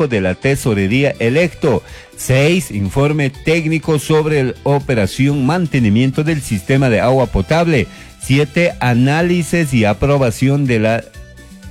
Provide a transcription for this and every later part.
técnico de la tesorería electo. 6. Informe técnico sobre la operación mantenimiento del sistema de agua potable. 7. Análisis y aprobación de la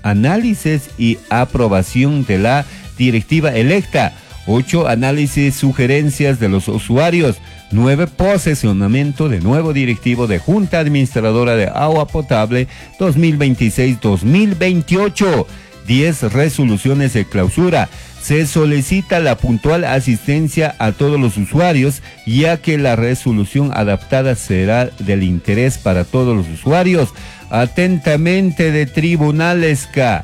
análisis y aprobación de la directiva electa. 8. Análisis sugerencias de los usuarios. 9. Posesionamiento de nuevo directivo de Junta Administradora de Agua Potable 2026-2028. 10. Resoluciones de clausura. Se solicita la puntual asistencia a todos los usuarios, ya que la resolución adaptada será del interés para todos los usuarios. Atentamente de Tribunales K.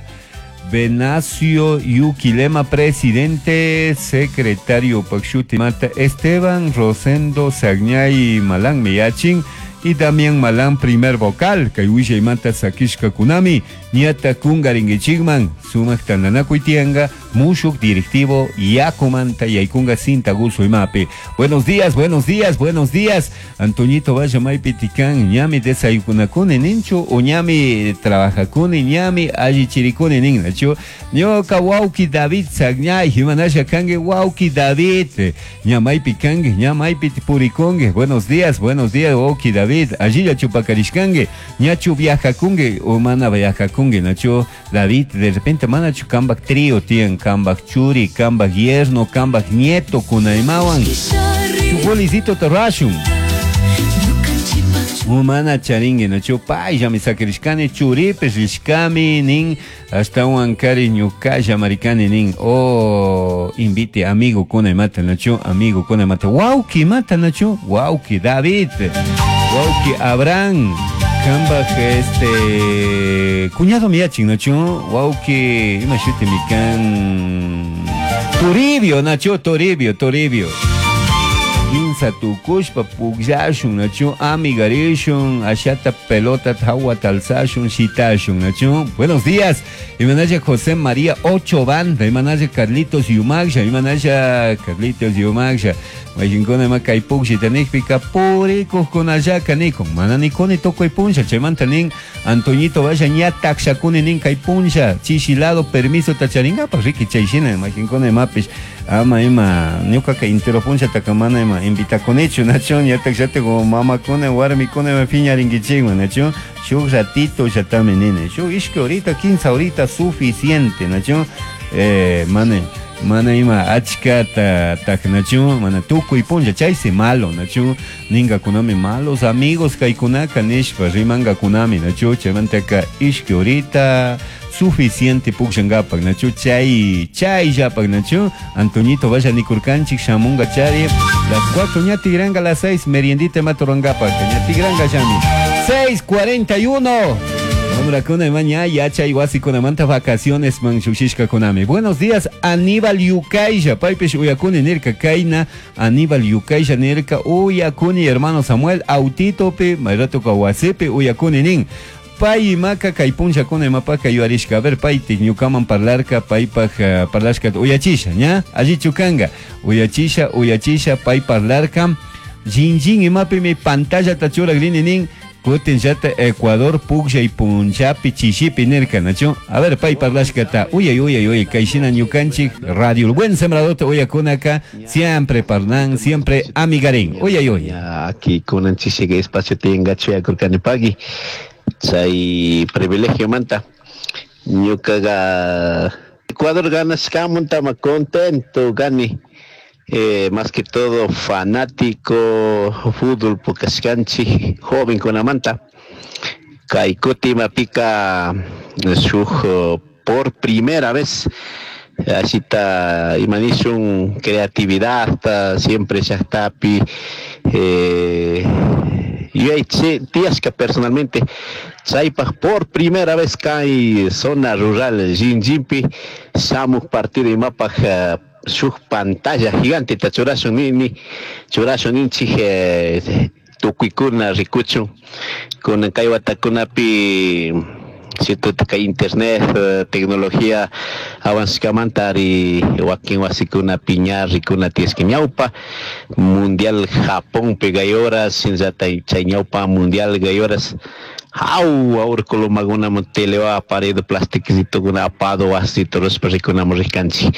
Venacio Yuquilema, presidente, secretario Pakshuti Mata, Esteban Rosendo Sagñay Malán Miyachin y Damián Malán, primer vocal, kay Mata Sakishka Kunami, Ñata Kungaringichigman, Sumak Tananakuitianga, Mushuk directivo Yakumanta Yaikunga Cinta Guso Imapi. Buenos días, buenos días, buenos días. Antoñito vaya Maipitican, ñami desayunakuni ninchu, o ñami trabajakuni, ñami allichirikuni nin, nachu. Ñoka wauki David Sagñay, himanasha kangue wauki David, ñamaypi kangue, ñamaypi purikungue. Buenos días, wauki David. Allí chupakarishkangue, ñachu viajakungue, o mana viajakungue, nachu David, de repente mana chu kambak trío tiyan, kambak churi, kambak yerno, kambak nieto, kunaymawan. Chugolicito torrashun. Umana charingue nachu paylla mi sakirishkani churipis rishkami nin ashtawan kari ñukalla marikani nin oh invite amigo kuna imata nachu amigo kuna imata wauki mata nachu wauki David wauki Abraham kambak este cuñado miyachin nachu wauki ima shuti mikan Toribio nachu Toribio Toribio Kinsa tukushpa pukllashun nachu amigarishun ashata pelota hawa talsashun shitashun nachu. Buenos días. Imanaya José María Ocho Banda, imanaya Carlitos Yumagsha, imanaya Carlitos Yumagsha. Mayinkuna ima kay pukllita nikpika purikuqkunallaka nikun. Mana nikuni tukuy punlla, chaymanta nin Antoñito vaya ña takshakuni nin kay punlla, chishilado permiso tacharinkapak riki chayshina mayinkuna imapish ama ima ñukaka intero punlla takamana ima invitakunichu nachu ña takshate como mamakuna warmikuna ima piñarinkichikman nachu shuk ratito llatami nini shuk ishki horita 15 horita suficiente nachu mane mana ima achkata taknachu mana tukuy punlla chaysi malo nachu ningakunami malos amigos kaykunaka nishpa rimangakunami nachu chaymantaka ishki horita suficiente pukshankapak nachu chay chayllapak nachu Antoñito vaya nikurkanchik shamunga chari las 4 ña tigranga las 6 meriendita maturangapak ña tigranga llami 6:41. Kuna maña yachay wasikunamanta vacaciones man shushishka kunami. Buenos días Aníbal Yukaisha, paypish uyakuni nirka kayna Aníbal Yukaisha nirka uyakuni hermano Samuel autitopi mayrato wasipi uyakuni nin. Pay maka kay punlla kuna imapaka yuarishka. A ver pay ñukaman parlarka paypaj parlashka uyachisha ña allichu kanga uyachisha uyachisha pay parlarka jinjin imapimi pantalla tachuragrini nin. Kutin llata Ecuador puklla y punchapi chishipi nirka nachu. A ver pay parlashkata uyay uyay uyay kayshina ñukanchik radio el buen sembrador uyakunaka siempre parlan siempre amigarín uyay uyay. Aquí kunan chishiga espacio tenga chuyakurkani pagui chay privilegio manta ñukaga Ecuador ganashkamuntama contento gani. Más que todo fanático fútbol pukashkanchik joven kunamanta kay kutima pika shuk por primera vez asita imanishun creatividad siempre llaqtapi yuyay tiyashka personalmente chaypaj por primera vez kay zona rural Jinjinpi shamuq partido imapaj shuk pantalla gigante ta churashun nini churashun ninchik tukuykuna rikuchun kunan kay watakunapi cierto kay internet tecnología avanzkamanta ari wakin wasikunapi ña rikuna tiyashka ñawpa mundial Japón gay horas shinallata chay ñawpa mundial gay horas Au, aurkulumakunaman telewa pared plastiquitokuna apado wasito rushpa rikunamun rikanchik.